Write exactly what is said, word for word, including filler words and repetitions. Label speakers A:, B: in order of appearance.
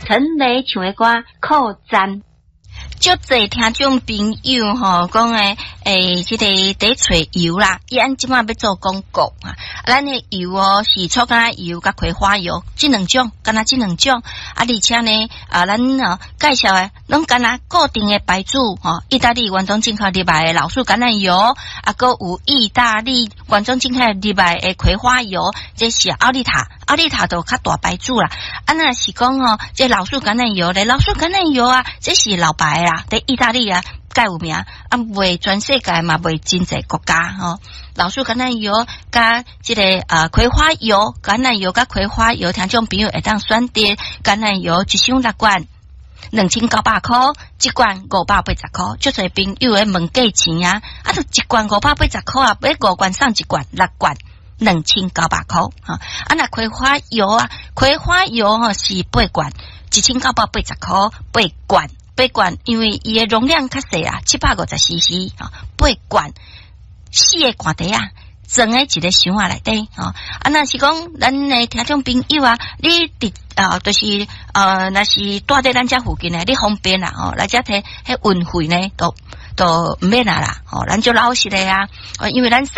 A: 陳雷唱的歌《靠站》。
B: 足濟聽眾朋友吼講的，欸，這個佇揣油啦，伊按這擺欲做廣告啊。咱的油哦是草橄欖油佮葵花油，這兩種，敢若這兩種。啊，而且呢，啊，咱哦介紹的攏敢若固定的牌子吼，意大利原裝進口入來的老樹橄欖油，啊，閣有意大利原裝進口入來的葵花油，這是奧利塔，奧利塔都較大牌子啦。啊，若是講吼，這老樹橄欖油咧，老樹橄欖油啊，這是老牌啦，佇意大利啊，蓋有名，啊，賣全世界嘛，賣真濟國家吼。老樹橄欖油佮這个啊葵花油，橄欖油佮葵花油，聽眾朋友會當選擇橄欖油一箱六罐，兩千九百箍，一罐五百八十箍。足濟朋友會問價錢啊，啊，就一罐五百八十箍啊，買五罐送一罐，六罐兩千九百箍。哈，啊，若葵花油啊，葵花油吼是八罐，一千九百八十箍，八罐。八罐，因為伊的容量較細啊，七百五十 C C 啊，八罐四个罐袋仔，裝佇一个箱仔內底吼。啊，若是講咱的聽眾朋友啊，你佇啊，就是呃，若是蹛佇咱遮附近的，你方便啦吼，來遮提彼運費呢，都都毋免啊啦，吼，咱足老實的啊，因為咱送。